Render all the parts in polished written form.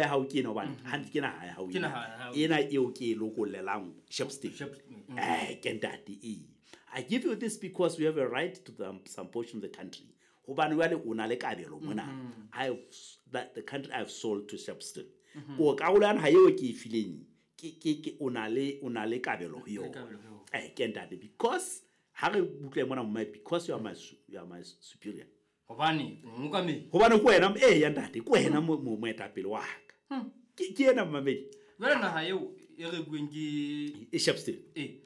Ya hao ke ena, hobane hantle ke naha ya hao Ke ena. Naha ya hao. Ena eo ke e lokollelang Shepstone. Shepstone. Ke ntate ee. I give you this because you have a right to some portion of the country, hobane jwale o na le kabelo mona. That the country I have sold to Shepstone, ko karolo ya naha eo ke e fileng ke o na le kabelo ho yona. Kabelo ho yona. Ke ntate, because ha re utlwe mona mme, because you are my superior. Hobane mookamedi. Hobane ke wena, ee ya ntate, ke wena moetapele wa ka. Ke ena, mmamedi. Jwale naha eo e rekuweng ke E Shepstone. E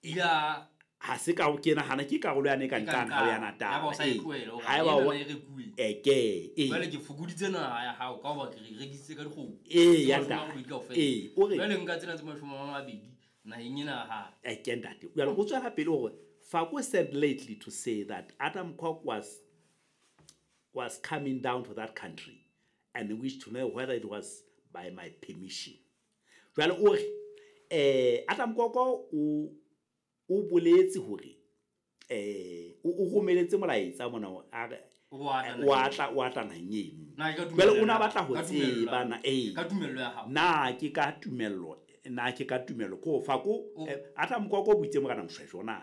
ila. Ha se ka ke nahana ke karolo yane e ka E ka nqane ha o ya nqane. Natal. Haeba o sa e Ee. tlohele, hore Haeba ena e rekuwe. Ke ee. Jwale ke fokoditse naha ya hao ka hoba ke re rekisitse ka dikgomo Ee, tse ya mashome a ntate. robedi kaofela. Ee, o re Jwale nka tsena tse 20 naheng ena ya hae. Ke ntate, jwale o tswela pele hore Faku said lately to say that Adam Kok was coming down to that country and wished to know whether it was by my permission. Jwale o re Adam Kok o boletse hore o romeletse molaetsa mona, a re O a tla o a tla naheng eno. Na ke ka Jwale o tumello na ya- batla ho ka tumello tseba ya- na ee. Ka tumello ya hao. Na ke ka tumello, na ke ka tumello ko fa ko Adam Koko buitse morena Mshweshwe na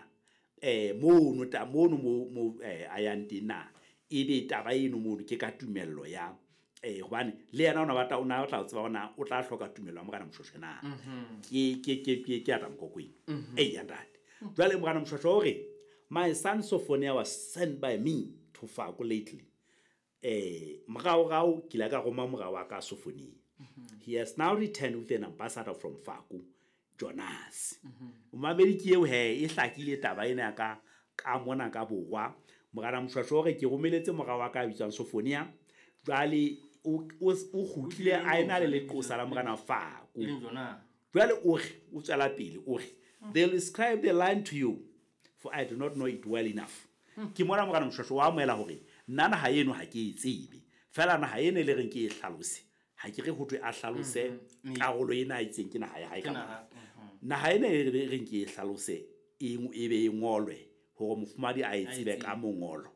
mono ta mono mo a yang teng, na ebe taba eno mono ke ka tumello ya hobane le yena o na batla ho tseba hore na o tla hloka tumello ya morena Mshweshwe na. Ke Adam Koko eno, ee ya ntate. Jwale morena Mshweshwe o re, my son Sophonia was sent by me to Fako lately. Moraorao ke ile ka roma mora wa ka Sophonia. He has now returned with an ambassador from Faku, Jonas. Momamedi, ke eo he, e hlakile taba ena ya ka mona ka borwa. Morena Mshwashwe o re ke romeletse mora wa ka a bitswang Sophonia, jwale o kgutlile a ena le leqosa la morena Faku. E leng jona. Jwale o re, o tswela pele o re, they will describe the line to you, for I do not know it well enough. Ke mona morena Mshwashwe wa amohela hore nna naha eno ha ke e tsebe, fela naha eno e le reng ke e hlalose, ha ke re ho thwe a hlalose karolo ena a itseng ke naha ya hae Ke ka naha, mona. Naha ena e re reng ke e hlalose, e be e ngolwe hore mofumahadi a e tsebe tsebe. Ka mongolo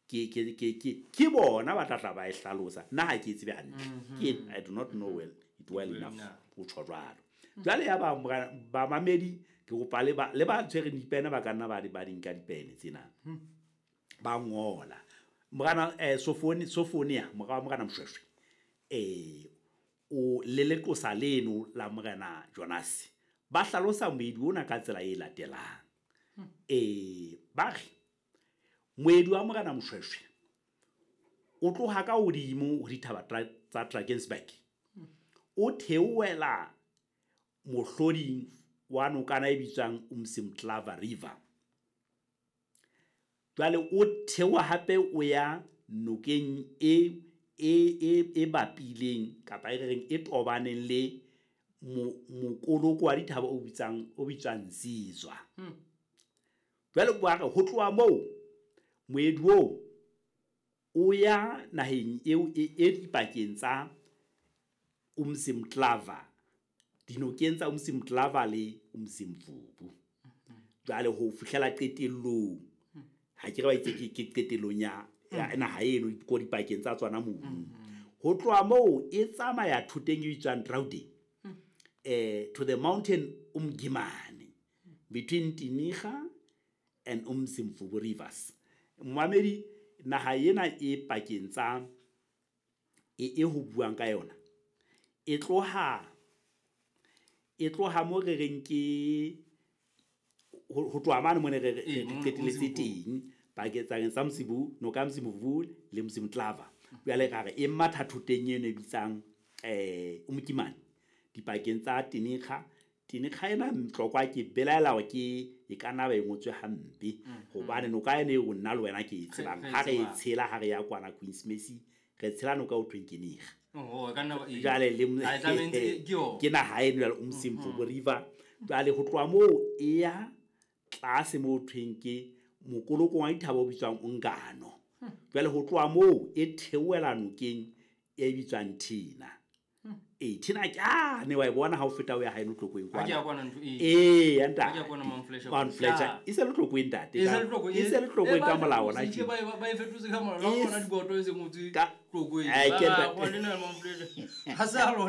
ke bona ba tla tla ba e hlalosa, nna ha ke e tsebe hantle, ke I do not know it well enough. Enough. O tjho jwalo. Jwale ya ba bamamedi, ke kopa le ba tshwereng dipene, ba ka nna ba di nka dipene tsena, ba ngola. Morena Sophonia, mora wa morena Mshweshwe, o le leqosa leno la morena Jonas, ba hlalosa moedi ona ka tsela e latelang. Ba re moedi wa morena Mshweshwe o tloha ka hodimo ho dithaba tsa Drakensberg, o theohela mohloding wa nokana e bitswang Umsimtlava River. Jwale o theoha hape o ya nokeng e bapileng, kapa e re reng e tobaneng le mokoloko wa dithaba o bitswang Zizwa. Jwale ba re ho tloha moo moedi oo o ya naheng eo e dipakeng tsa Umsimtlava, dinokeng tsa Umsimtlava le Umzimvubu, jwale ho fihlela qetellong, ha ke re ba itse ke qetellong ya naha eno ko dipakeng tsa tsona mono. Ho tloha moo e tsamaya thoteng e bitswang Drauden to the mountain Umgimane between Tiniga and Umzimvubu rivers. Momamedi, naha ena e pakeng tsa e ho buang ka yona, e tloha mo re reng ke ho tloha mane mo ne re Ee, re qetelletse Mzimvubu. Teng pakeng tsa Msibu, noka ya Mzimvubu le Mzimtlava. Jwale ra re e matha thoteng eno e bitsang Umkimane dipakeng tsa Tiniga. Tiniga ena Mtlokwa, ke belaela hore ke e ka nna ba e ngotswe hampe, hobane noka ena eo nna le wena ke e tsebang Re e ha re e tsebang. tshela, ha re ya kwana Queens Mercy, re tshela noka o thweng ke Niga. Oh, e ka nna ee. Jwale le Ha e tlamehetse ke yona. Ke naha eno jwale Umzimvubu River. Jwale ho tloha moo e ya tlase mo thweng ke mokoloko wa dithaba o bitswang Ungano. Jwale ho tloha moo e theohela nokeng e bitswang Thina. Ee, Thina ke ane wa e bona ha o feta o ya haeno Tlokweng. Ha ke ya Kwana. kwana ntho ee. Ee, ya Ha ke ya ntate. kwana Mount Fletcher. Mount Fletcher. Ya. E se le Tlokweng, ntate. E se le Tlokweng. E se le Tlokweng Eh, ka ba molao ona fetotse, tje. ba e fetotse ka molao. Ha E bona diboto e se ngotswe Ka Tlokweng. Ai, Ba ke ra, ntate. wa lena Mount Fletcher. Ha se a lona.